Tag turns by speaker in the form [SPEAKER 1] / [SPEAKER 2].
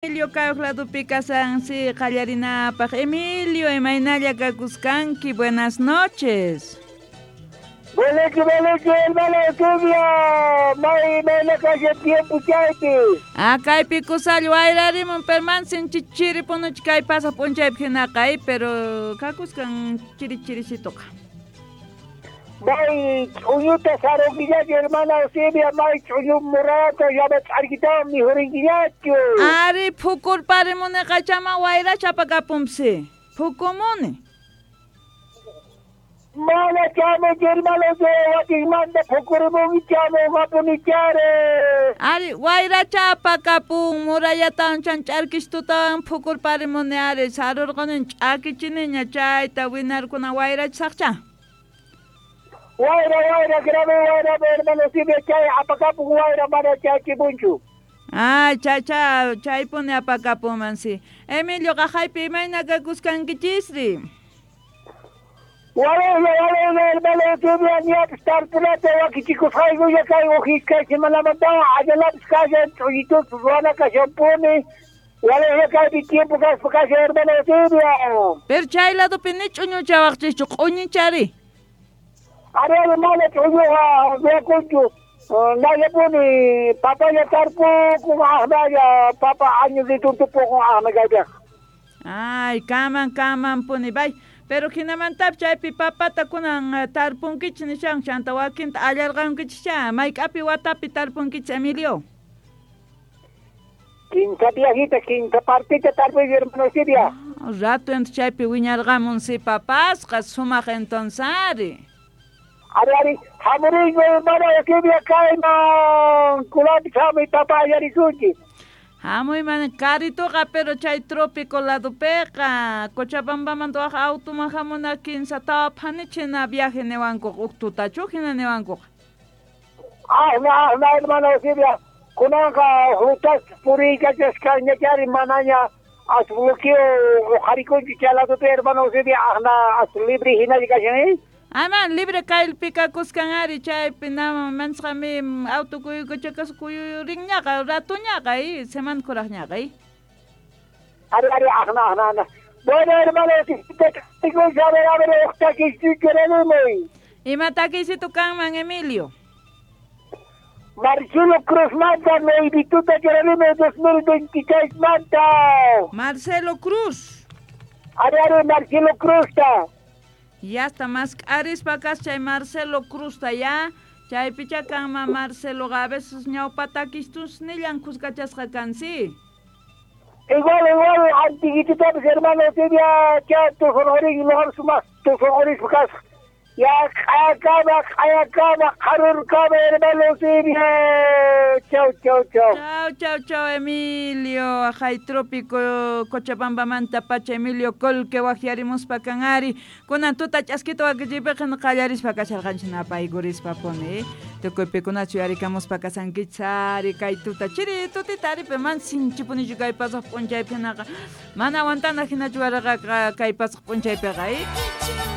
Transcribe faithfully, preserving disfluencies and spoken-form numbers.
[SPEAKER 1] Emilio kay ladopi kasan si qallarinapaq. Emilio, imaynalla kakuskanki, buenas noches.
[SPEAKER 2] Beleki, beleki, hermano Eusebio, may mayna kashan tiempo chaypi.
[SPEAKER 1] Ah, kaypi kusalla wayrarimun, pero mansin chiri punuchi kay pasaq p'unchaypi hinaqa, pero kakuskan chiri chirisituqa.
[SPEAKER 2] May ch'uñuta sarunkillachu, hermana Eusebia, may ch'uñu murata llama ch'arkitawan mijurinkillachu.
[SPEAKER 1] Ari, phukurparimuniqa chama wayracha apakapunpsi, phukumuni.
[SPEAKER 2] Mana chamo, hermano Eusebia, wakinmanta phukurimunki chamo qapunichari.
[SPEAKER 1] Ari, wayracha apakapun, murallatawan chan ch'arkistutawan phukurparimuni ari, sarurquni ch'akichiniña chayta winarkuna wayrachisaqcha.
[SPEAKER 2] Wayra, wayra, grave wayra, hermano Eusebia, chay apakapun wayra mana chaykimunchu.
[SPEAKER 1] Ay, chay, chay, chaypuni apakapunman si. Emilio, qaqaypi imayna kakuskankichisri?
[SPEAKER 2] Waleyla, waleyla, hermano Eusebia, ñapis tarpunata wakichikusqaykuña kay uj iskay semanamantawan allalapis kashan ch'uñituspa ruwana kashanpuni. Waleyla kaypi tiempo kaspa kashan, hermano Eusebia.
[SPEAKER 1] Pero chay ladopi ni ch'uñuchawaqchischu, q'uñichari.
[SPEAKER 2] Ari, ari, mana ch'uñuqa ruwakunchu. Nallapuni papaya tarpukun aqnalla papa año tumpukun aqna kaypiqa.
[SPEAKER 1] Ay, kaman, kaman puni, bay. Pero hinamantapis chaypi papata kunan tarpunkichis nishan chanta wakinta allarqankichis mayk'api watapi tarpunkichis, Emilio?
[SPEAKER 2] Kinsa viajita, kinsa partita tarpuy, hermano Eusebia.
[SPEAKER 1] Rato entonces chaypi wiñarqamun si papasqa sumaq entonces ari.
[SPEAKER 2] Ari, ari, hamuriyku, hermano Eusebia, kayman kunanpis hamuy papa allarisunchis.
[SPEAKER 1] Hamuy mana karituqa, pero chay trópico ladopiqa Cochabambamanta waj automan hamuna kinsa tawa phanichina viaje niwankuqa uj tutachu hina niwankuqa.
[SPEAKER 2] Aqna, aqna, hermano Eusebia, kunanqa rutas puriykachasqañachari manaña as bloqueo uqharikunchu chay ladopi, hermano Eusebia, aqna as libre hinalla kashan, eh?
[SPEAKER 1] Aman libre kaypi kakuskan ari chaypi nama mansqami auto kuyuykuchakas kuyurinñaqa ratuñaqa eh semana kuraqñaqa eh.
[SPEAKER 2] Ari, ari, aqna, aqna, aqna. Bueno, hermano, a ver, a ver, uj takiysitu churarimuy.
[SPEAKER 1] Ima takiysitu kanman, Emilio?
[SPEAKER 2] Marcelo Cruz manta, nuevituta churarimuy dos mil veintiséis manta.
[SPEAKER 1] Marcelo Cruz.
[SPEAKER 2] Ari, ari, Marcelo Cruz ta.
[SPEAKER 1] Ya está más arispa kas chay Marcelo Cruz ta ya. Chaypicha kanman Marcelo a veces ñawpatakistus nillan kuskachasqa kansi.
[SPEAKER 2] Igual, igual, antiguititapis, hermano Eusebia, cha tusunquriki luqapas sumaq tusunqurispa kasqa. Ya q'ayakama, q'ayakama, qharurkama, hermano Eusebia. Chau, chau, chau.
[SPEAKER 1] Chau, chau, chau, Emilio. Ajay trópico Cochabambamanta pacha Emilio Colque wajyarimuspa kan ari. Kunan tuta ch'askita wakichiypiqa qallarispa kasharqanchik napaykurispa puni. Tukuypikunachu yarikamuspa kasankichis ari kay tuta chiri tutita ari pero man sinchipunichu kay pasaq p'unchaypi hinaqa. Mana aguantana hinachu waraqa kay pasaq p'unchaypiqa, eh.